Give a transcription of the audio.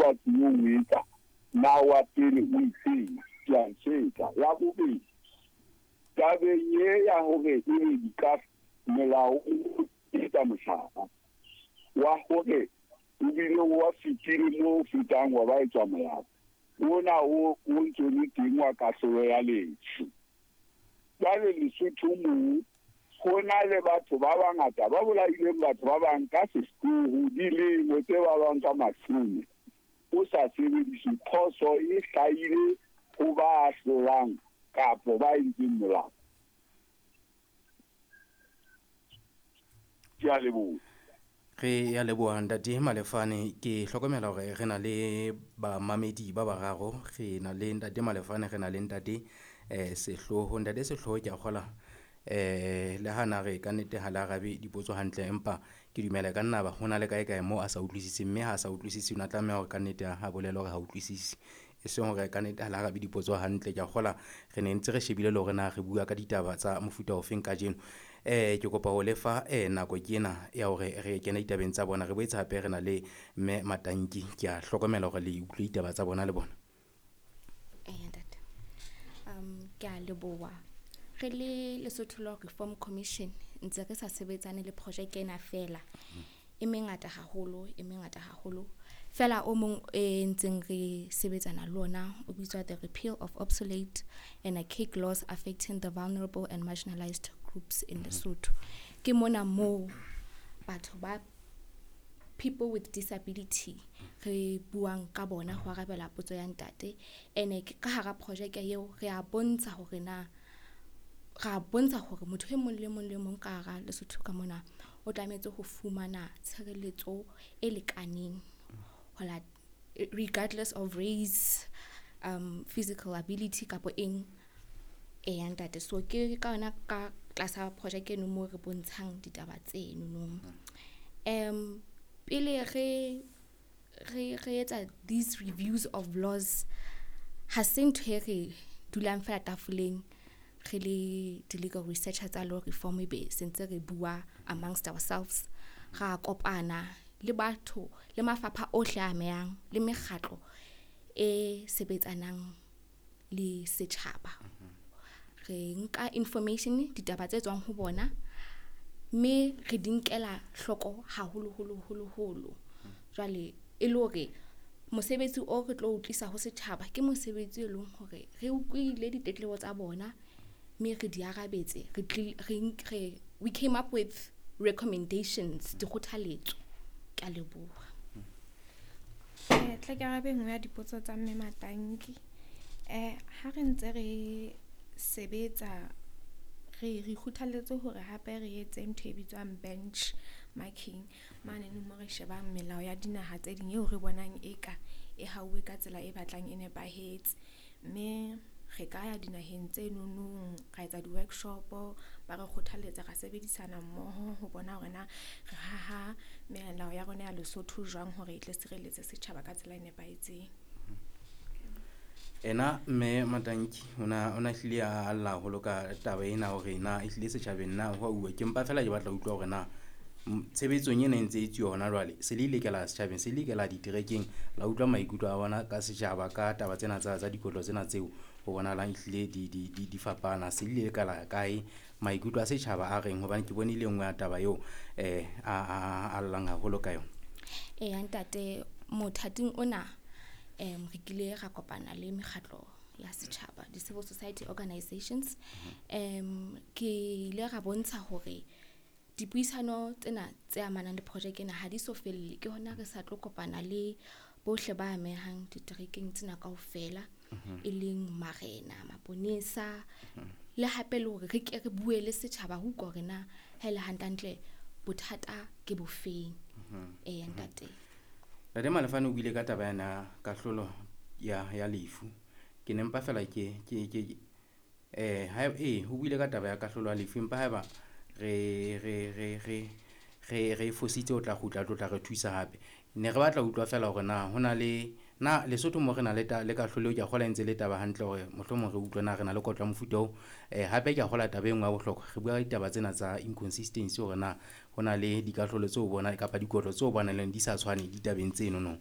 ba tlilo o etsa, na wa pele o itseng? Ke a ntshwetsa. Ya bobedi, tabeng ye ya hore ebe di ka melao o etsa mohlala wa hore o bile wa fetile mo o fetang wa ba etswa molao ona o ntso le teng wa kahlolo ya lefu. Jwale Lesotho moo ho na le batho ba bangata ba bolaileng batho ba bang ka sehloho, dilemo tse ba bang ka mashome o sa sebedise. Phoso e hlahile ho ba ahlolang kapo ba entseng molao. Ke a leboha. Re ya leboha, Ntate Malefane. Ke hlokomela hore re na le bamamedi ba bararo. Re na le Ntate Malefane, re na le Ntate Sehloho. Ntate Sehloho, ke a kgola le ha na re kannete ha le arabe dipotso hantle, empa ke dumela ka nna ba ho na le kae kae moo a sa utlwisiseng, mme ha a sa utlwisise o na tlameha hore kannete a bolele hore ha utlwisise, e seng hore kannete ha le arabe dipotso hantle. Ke a kgola re ne ntse re shebile le hore na re bua ka ditaba tsa mofuta ofeng kajeno. Ke kopa ho lefa nako ke ena ya hore re kene ditabeng tsa bona. Re boetse hape re na le Mme Matanki, ke a hlokomela hore le utlwe ditaba tsa bona le bona. Eya ntate, ke a leboha. Re le Lesotho Law Reform Commission ntse re sa sebetsane le projeke ena fela, e mengata haholo, e mengata haholo. Fela o mong e ntseng re sebetsana le ona o bitswa the repeal of obsolete and archaic laws affecting the vulnerable and marginalized groups in Lesotho. Ke mona moo batho ba people with disability re buang ka bona ho arabela potso ya ntate. Ene ke ka hara projeke eo re a bontsha hore na ra bontsha hore motho e mong le mong le mong ka hara Lesotho ka mona o tlametse ho fumana tshireletso e lekaneng ho la regardless of race, physical ability kapo eng. Eya ntate, so ke ka yona ka tlasa projeke eno moo re bontshang ditaba tseno no. Pele re etsa these reviews of laws, ha se ntho e re dulang fela tafoleng re le di-legal researcher tsa law reform ebe se ntse re bua amongst ourselves. Ra kopana le batho le mafapha ohle a amehang le mekgatlo e sebetsanang le setjhaba. Re nka information, ditaba tse tswang ho bona, mme re di nkela hloko haholo holo holo holo. Jwale e le hore mosebetsi o re tlo o tlisa ho setjhaba ke mosebetsi e leng hore re utlwile ditletlebo tsa bona, mme re di arabetse, re we came up with recommendations, dikgothaletso. Ke a leboha. Tla ke arabe e nngwe ya dipotso tsa Mme Matanki. Ha re ntse re sebetsa re kgothalletse hore hape re etse ntho e bitswang bench marking mane mo re shebang melao ya dinaha tse ding eo re bonang eka e hauwe ka tsela e batlang e nepahetse. Mme re ka ya dinaheng tse nonong ra etsa di-workshop, ba re kgothalletsa ra sebedisana mmoho ho bona hore na re haha melao ya rona ya Lesotho jwang hore e tle sireletse setjhaba ka tsela e nepahetseng. Ena Mme Matanki ona hlile a lla haholo ka taba ena hore na ehlile setjhabeng na ho a uwa. Ke mpa fela ke batla ho utlwa hore na tshebetsong ena e ntse e etsuwa hona jwale, se le ile kela setjhabeng, se le ikela diterekeng la utlwa maikutlo a bona ka setjhaba ka taba tsena tsa dikotlo tsena tseo ho bonahalang ehlile di fapana. Se le ile kala kae, maikutlo a setjhaba a reng? Hobane ke bone e le nngwe ya taba eo a llang haholo ka yona. Eya ntate, mothating ona re kile ra kopana le mekgatlo ya setjhaba, di-civil society organizations. Ke ile ra bontsha hore dipuisano tsena tse amanang le projeke ena ha di so felle. Ke hona re sa tlo kopana le bohle ba amehang diterekeng tsena kaofela, e leng marena, maponesa, le hape le hore re ke re bue le setjhaba ho utlwa hore na ha ele hantle-hantle bothata ke bofeng. Eya ntate. Ntate Malefane o buile ka taba yana kahlolo ya lefu. Ke ne mpa fela ke ha o buile ka taba ya kahlolo ya lefu, empa haeba re fositse o tla kgutla tlo tla re thusa hape. Ne re batla ho utlwa fela hore na ho na le na Lesotho mo re na le le kahlolo eo, ke a kgolwa e ntse le taba hantle hore mohlomong re utlwe na re na le kotlo ya mofuta oo. Hape ke a kgolwa taba e nngwe ya bohlokwa, re bua ka ditaba tsena tsa inconsistency hore na ho na le dikahlolo tseo bona kapa dikotlo tseo bonang di sa tshwane ditabeng tseno no.